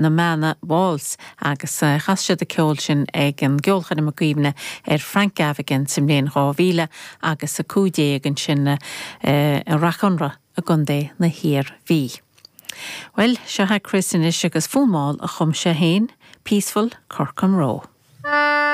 Na Manna Waltz agus chas siad an ceol sin ag an gceolchoirm i gcuimhne ar Frank Gaffigan sa mbliain 2000 agus 15 ansin i Rath Conrach i gContae na hIarmhí. Bhuel, seo é Chris anois agus fonn mall a chum sé féin, Peaceful Corcomroe.